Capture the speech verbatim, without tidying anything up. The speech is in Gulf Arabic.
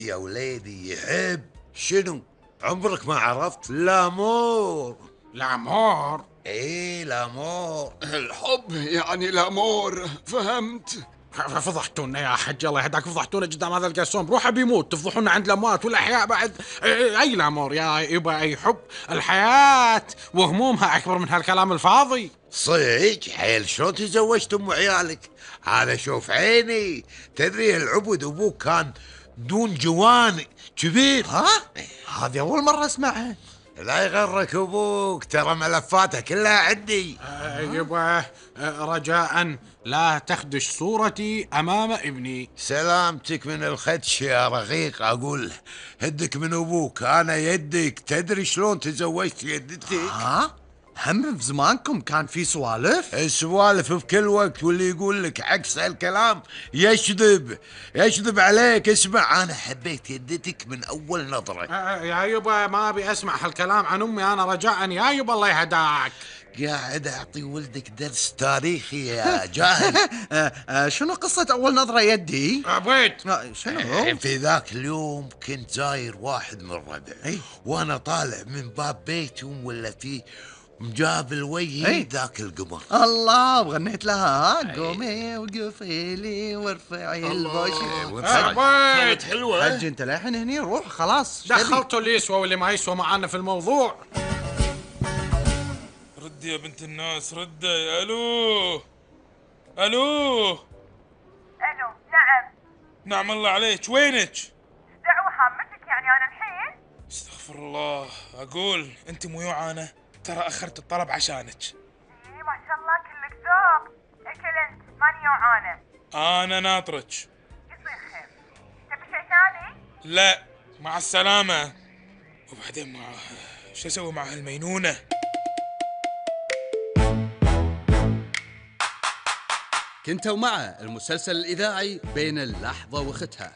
يا وليدي يحب شنو؟ عمرك ما عرفت؟ لامور. الأمور. ايه لامور. الحب يعني الأمور، فهمت؟ فضحتونا يا حج، الله يهداك، فضحتونا قدام هذا القسوم. روحه بيموت تفضحونا عند الأموات والأحياء بعد. أي الأمور يا يبا، أي حب؟ الحياة وهمومها أكبر من هالكلام الفاضي. صيج حيل شلون تزوجت ام عيالك؟ هذا شوف عيني. تدري العبد ابوك كان دون جوان كبير. ها؟ هذه أول مرة أسمعها. لا يغرك ابوك، ترى ملفاته كلها عندي. أه يبا، أه رجاء لا تخدش صورتي أمام ابني. سلامتك من الخدش يا رقيق. اقول هدك من ابوك، انا يدك. تدري شلون تزوجت يدتك؟ ها؟ هم في زمانكم كان في سوالف؟ السوالف في كل وقت، واللي يقول لك عكس هالكلام يشذب يشذب عليك. اسمع، انا حبيت يدتك من اول نظرة. أه يا يبا ما أبي أسمع هالكلام عن أمي أنا، رجاء يا يبا الله يهداك. قاعد اعطي ولدك درس تاريخي يا جاهل. آه آه شنو قصة أول نظرة يدي؟ أبيت آه شنو؟ في ذاك اليوم كنت زاير واحد من ربعي، وانا طالع من باب بيتهم ولا فيه مجابل وجهي ذاك القمر. الله، وغنيت لها قومي وقفي لي وارفعي البوش. أبيت. حلوة. حج انت للحين هني، روح خلاص. دخلتوا اللي يسوى واللي ما يسوى معانا في الموضوع. ردي يا بنت الناس، ردي. الو الو. الو، نعم. نعم الله عليك، وينك؟ دعوة هامتك يعني انا الحين؟ استغفر الله. اقول انت مو يوعانة، ترى اخرت الطلب عشانك. ايه ما شاء الله كلك ذوق. اكل انت ماني جوعانة. انا ناطرك. يصير خير. تبي شيء ثاني؟ لا مع السلامة. وبعدين مع شو اسوي مع هالمينونة؟ كنتوا مع المسلسل الإذاعي بين اللحظة وختها.